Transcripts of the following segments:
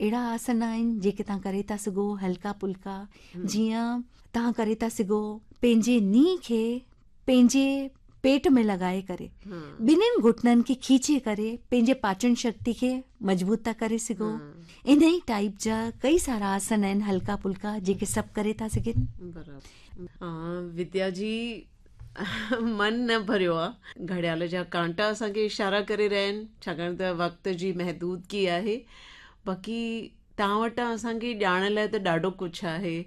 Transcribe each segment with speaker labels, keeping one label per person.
Speaker 1: اهڙا آسن آهن جيڪي توهان ڪري ٿا سگهو هلڪا ڦلڪا جيئن توهان ڪري ٿا سگهو پنهنجي ني کي پنهنجي پيٽ ۾ لڳائي ڪري ٻنهين گهٽنن کي کيچي ڪري پنهنجي پاچن شڪتي کي مضبوط ٿا ڪري سگهو. ان ئي ٽائيپ جا ڪئي سارا آسن آهن هلڪا ڦلڪا جيڪي سڀ ڪري ٿا سگهن.
Speaker 2: برابر وديا جي من نه ڀريو آ گهڙيال جا ڪانٽا اسان کي اشارا ڪري رهيا آهن ڇاڪاڻ ته وقت جي محدودگي آهي باقي توهان وٽان اسان کي ڄاڻ لاء ته ڏاڍو ڪجهه آهي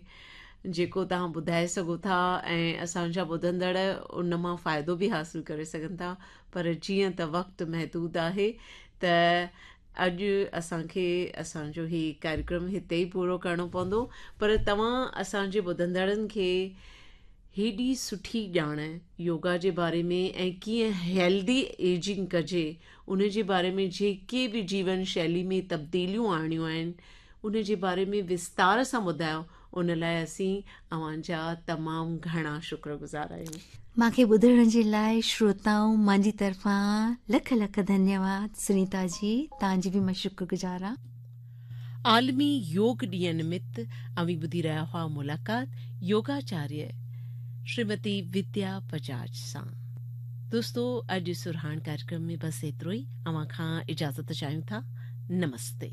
Speaker 2: جيڪو توهان ٻڌائي سگهو ٿا ۽ اسان جا ٻڌندڙ ان مان فائدو به حاصل ڪري سگهن ٿا پر جيئن ته وقت محدود آهي ته اڄ اسان کي اسان جو هي ڪاريڪرم هتي ئي پورو ڪرڻو پوندو پر توهان اسان جي ٻڌندڙن کي هيڏي سٺي ڄاڻ يوگا جي باري ۾ ۽ ڪيئن هيلدي ايجنگ ڪجي ان جي باري ۾ جيڪي به جيون شيلي ۾ تبديليون آڻڻيون آهن ان جي باري ۾ وستار سان ٻڌايو ان لاء اسين اوهان جا تمام گهڻا شڪر گذار آهيون.
Speaker 1: مان کي ٻڌڻ جي لاء شروتائون مان جي طرفان لک لک ڌنيواد سنيتا جي توهان جي به مان شڪر گذار آهيان.
Speaker 2: عالمي يوگ ڏينهن نمت اوهين ٻڌي رهيا هئا ملاقات يوگاچاريه شريمتي وديا بجاج سان. دوستو اڄ سرهاڻ ڪاريڪرم ۾ بس ايترو ئي اوهان کان اجازت چاهيون ٿا نمستي.